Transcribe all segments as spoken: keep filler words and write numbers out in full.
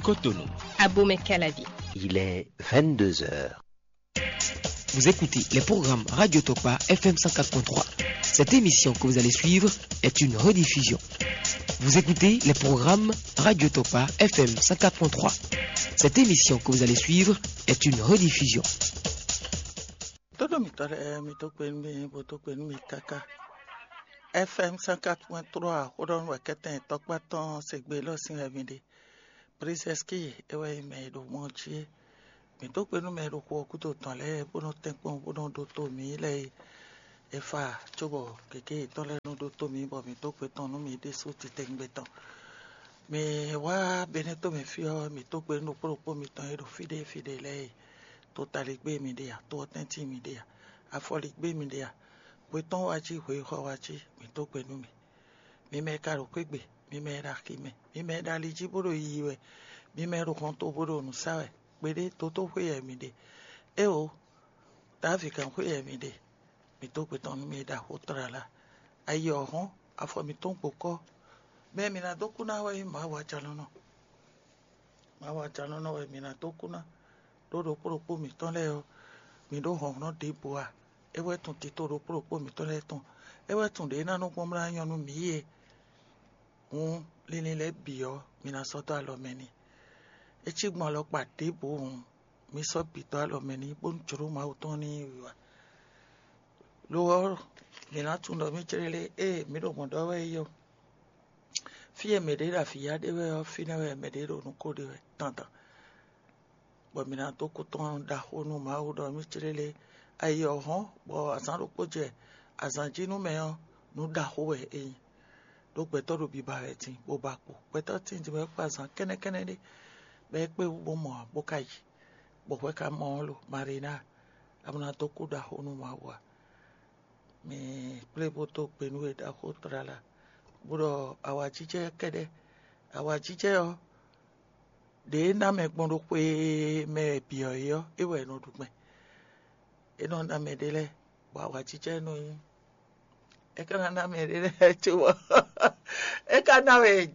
Cotonou. Abomey-Calavi. Il est vingt-deux heures. Vous écoutez les programmes Radio Tokpa F M cent quatre point trois. Cette émission que vous allez suivre est une rediffusion. Vous écoutez les programmes Radio Tokpa F M cent quatre point trois. Cette émission que vous allez suivre est une rediffusion. Todo mitɔ lɛɛ mi tó kpe nú mi, bo tó kpe nú mi káká. F M cent quatre point trois, xó ɖɔ nú wɛ kɛ́tɛn tɔkpá tɔn se gbe lɔ sín wɛ mi ɖe. Princesse Ki é wɛ nyí mɛ e ɖo mɔ jí é. Mǐ dó gbe nú mɛ e ɖo xu ɔ́ gúdo tɔn lɛ́ɛ bó nɔ́ tɛ́nkpɔ́n bó nɔ́ ɖótó mǐ lɛ́ɛ é. É fa cóbɔ gěgé yětɔn lɛ́ɛ nɔ ɖótó mǐ bɔ mǐ dó gbe tɔn nú mǐ ɖésú titewungbe tɔn. Mǐ wá Benɛ́to mɛ fí ɔ́, mǐ dó gbe nú ɖokpó ɖokpó mitɔn e ɖo fí ɖé fí ɖé lɛ́ɛ é. To taligbé mi ɖe a, to ɔ́ tɛ́ntin mi ɖe a, afɔligbé mi ɖe a, hwe tɔn wá cí, hwe xɔ wá cí, mǐ dó gbe nú mi. Mi mɛ e ka ɖo xwé gbe, mi mɛ e ɖo axi mɛ, mi mɛ e ɖo ali jí bó ɖo yiyi wɛ, mi mɛ e ɖo hɔnto bó ɖo nǔ sa wɛ, kpeɖé dotóxwé wɛ mi ɖe. Éeǒ, Davídgán xwé wɛ mi ɖe, mi dó gbe tɔn nú mi e ɖo axó tlala. Ayi ɔ́ hɔ́n, afɔ mǐtɔn gbo kɔ́. Mɛ e mǐ ná dó kú ná wɛ nyí Mawu Ajalɔ̌nlɔn. Mawu Ajalɔ̌nlɔn wɛ mǐ ná dó kú ná, ɖó ɖokpó ɖokpó mǐtɔn lɛ́ɛ ɔ́, mǐ ɖó hlɔ̌nhlɔ́n ɖěbǔ ǎ. É wɛ tunwun tito ɖokpó ɖokpó mǐtɔn lɛ́ɛ tɔn. É wɛ tunwun ɖě ná nɔ gbɔn mlá nyɔ́ nú mǐ é. Hǔn, linlin lɛ́ɛ bǐ ɔ́, mi ná sɔ́ dó alɔ mɛ n'i. É cí gbɔn alɔkpa ɖěbǔ hǔn, mi sɔ́ bǐ dó alɔ mɛ n'i, bónú jlǒ Mawu tɔn ní yi wiwa. Lo ɔ́, mǐ ná tunwun ɖɔ mǐ céɖélé ée mǐ ɖo mɔ̌ ɖɔ wɛ é ɔ́. Fí e mɛɖě ɖo avǐ ya ɖe wɛ ɔ́, fínɛ́ wɛ mɛɖě ɖo nǔ ko ɖe wɛ dandan. Bɔ mǐ ná dó kú tɔn ɖaxó nú Mawu ɖɔ mǐ céɖélé. Ayi ɔ́ hɔ́n, bɔ azǎn ɖokpó jɛ azǎn jí nú mɛ ɔ́, nǔ ɖaxó wɛ é nyí. Ɖó gbɛtɔ́ ɖo biba wɛ din, bó ba kpo. Gbɛtɔ́ tíin din wɛ kpó azǎn kɛ́nɛ́kɛ́nɛ́ ɖé, bɔ é kpé wú bó mɔ ǎ, bó ka yi. Bɔ hwɛ ka mɔ ɔ́ lo, Marína, a ma ná dó kú ɖaxó nú Mawu ǎ. Mi kplé bó dó gbe nú we ɖaxó tlala, bó ɖɔ awǎjijɛ kɛ́ɖɛ́. Awǎjijɛ ɔ́, ɖě ná mɛ gbɔn ɖo xwe mɛ bǐ ɔ́ é ɔ́, é wɛ è nɔ ɖu gbɛn. É nɔ ná mɛ ɖé lɛ́ɛ, bɔ awǎjijɛ nɔ nyí. É ka ná ná mɛ ɖé lɛ́ɛ cóbɔ é ka ná wɛ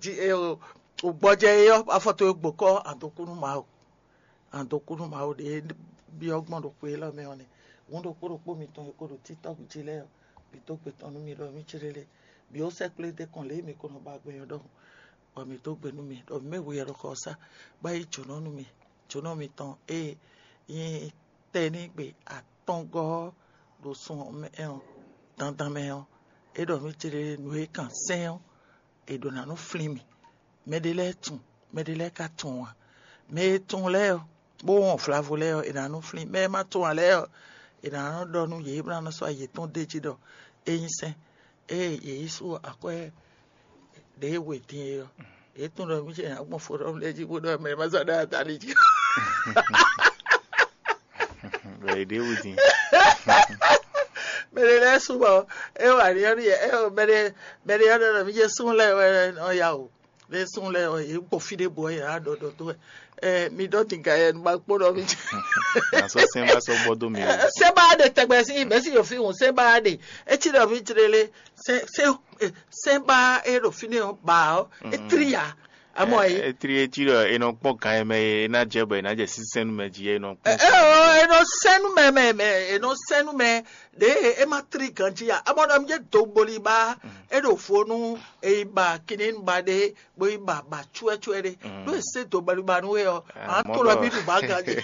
gbɔjɛ é ɔ́, afɔ towe gbǒkɔ́, a dó kú nú Mawu. A dó kú nú Mawu ɖě byɔ́ gbɔn ɖo xwe élɔ́ mɛ ɔ́ nɛ́. Hǔn ɖokpó ɖokpó mitɔn e ko ɖo TikTɔ́k jí lɛ́ɛ ɔ́, bǐ dó gbe tɔn nú mì ɖɔ mì céɖélé, bǐ ó sɛ́ kplé dó kɔn lě e mǐ ko nɔ ba gbɛn ɔ́ ɖɔhun, bɔ mǐ dó gbe nú mi ɖɔ mǐ mɛ we wɛ ɖo xɔ ɔ́ sá, bó yi jǒnɔ nú mi. Jǒnɔ mitɔn e nyí tɛnígbe atɔngɔ́ ɔ́ ɖo sun ɔ́ mɛ ɔ́, dandan mɛ ɔ́, é ɖɔ mì céɖélé nǔ e kan sɛ́n ɔ́, è ɖǒ ná nɔ flín mì. Mɛɖé lɛ́ɛ tunwun, mɛɖé lɛ́ɛ ka tunwun ǎ. Mɛ e tunwun lɛ́ɛ ɔ́, bó wɔn vlavo lɛ́ɛ ɔ́, è nǎ nɔ flín. Mɛ e ma tunwun ǎ lɛ́ɛ ɔ́, è nǎ nɔ ɖɔ nú yě, bó ná nɔ sɔ́ yětɔn d'é jí ɖɔ é nyí sɛ́n. Ée yě yi sú akwɛ́ ɖě e we din é ɔ́, yě tunwun ɖɔ mì ce ná gbɔn fó ɖɔ lɛ́ɛ jí bó ɖɔ mɛ e ma sɔ́ ɖó atali jí. Bɔ è ɖě wú din. Mɛɖé lɛ́ɛ sú bɔ é wa ní ɔ́ nú yɛ, é mɛɖé mɛɖé ɔ́ ɖɔ ɖɔ mì ce sún lɛ́ɛ wɛ nɔ ya o. Lé sún lɛ́ɛ ɔ́, yě gbɔ fí ɖěbǔ ɔ́, yě ná ɖɔ ɖɔ dó wɛ. Ɛ, mi ɖɔ tinka yɛ nu ma kpó ɖɔ mi. Nasɔ sɛnba sɔ gbɔ dó mi o. Sɛnba ɖe tɛgbɛ sí mɛ sí yɔ fi hùn sɛnba ɖe. Etí ɖɔ mi tlele sɛn sɛn sɛnba e ɖo fi ne ɔ ba ɔ etri ya. Amɔ yi. Etri etí ɖɔ enɔ kpɔn kan yɛ mɛ e ena jɛ bɔ ena jɛ sísɛn nu mɛ jí enɔ kpɔn. Ɛ ɔ enɔ sɛnu mɛ mɛ mɛ enɔ sɛnu mɛ ɖe e ma tri ganji ya. Amɔ ɖɔ mi jɛ do gboli ba e ɖo fo nu e yi ba kini ba ɖe bo yi ba ba cuɛcuɛ ɖe ɖo e se do gbali ba nu e ɔ an to lɔ mi ɖu ba ganji.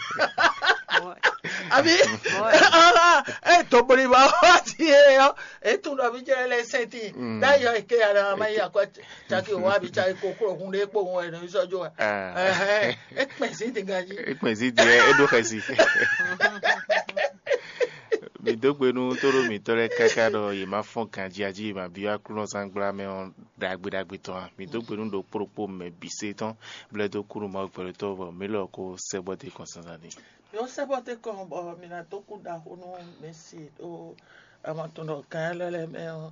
Abi e do gboli ba wa ti e ɔ e tun ɖɔ mi jɛ lɛ sɛnti da yɔ eke ya na ma yi akɔ caki o wa bi caki koklo hun ɖe kpo hun ɛ nɔ sɔ jo wa. Ɛhɛn, e kpɛn si ti ganji. E kpɛn si ti ɛ e ɖo xɛsi. Mi dó gbe nú tóɖó mǐtɔn lɛ́ɛ káká ɖɔ yě má fɔ́n ganjí jí, yě má byɔ́ Aklúnɔzángbla mɛ ɔ́ ɖagbe ɖagbe tɔn ǎ. Mi dó gbe nú ɖokpó ɖokpó mɛ bǐ se tɔn, blɛ́ dó kú nú Mawu gbɛɖotɔ́ bɔ mǐ lɔ ko sɛ́ bɔ dó kɔn zǎnzǎn ní. Yɔ sɛ́ bɔ dó kɔn bɔ mi ná dó kú ɖaxó nú Mɛsi ɖó ama tɔn ɖɔ gǎn lɛ́ɛ lɛ́ɛ mɛ ɔ́.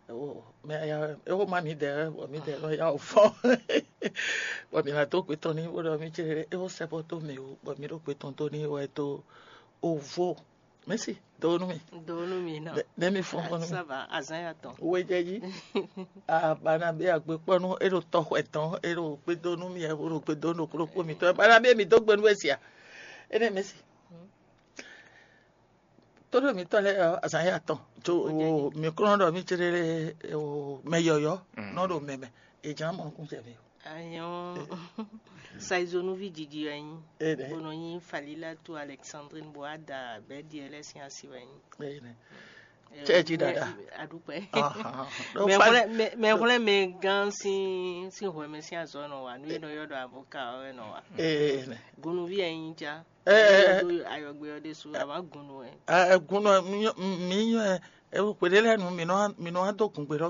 Ewo, mɛ ya ewo ma mi dɛ bɔ mi dɛ nɔ ya o fɔn. Bɔ mi na to gbe tɔn ni wo ɖɔ mi ce ewo sɛ bɔ to mi o bɔ mi ɖo gbe tɔn to ni wɛ to ovo. Mɛsi, do nú mi. Do nú mi nɔ. Ne mi fɔn fɔn nú mi. Ça va, azan ya tɔn. Wejɛji. Abana be agbekpɔnu e ɖo tɔxwɛ tɔn e ɖo gbedo nú mi e ɖo gbedo nú kplɔkpɔ mi tɔ bana be mi do gbe nú esia. Ene mɛsi. Todo mi tɔ lɛ azan ya tɔn. Jo mi kɔnɔ ɖɔ mi chere o mɛ yɔyɔ nɔ ɖo mɛmɛ. Ejan mɔ nukun cɛ mi. Ayɔn. Saizonuvi didi wɛ nyi. Ene. Bono nyi Falila to Alexandrine Boada bɛ diɛ lɛ sin asi wɛ nyi. Ene. Cɛ ji dada. Adukpɛ. Ahan. Mɛ xlɛ mɛ xlɛ mɛ gan sin sin hwɛ mɛ sin azɔ nɔ wa nu yɛ nɔ yɔ dɔ avoka wɛ nɔ wa. Ene. Gonuvi yɛ nyi ja. Eh. Do ayɔgbe yɔ de su a ma gonu wɛ. Ɛ gunɔ mi nyɔ ɛ kpeɖe lɛ nu mi nɔ mi nɔ do gun gbe ɖɔ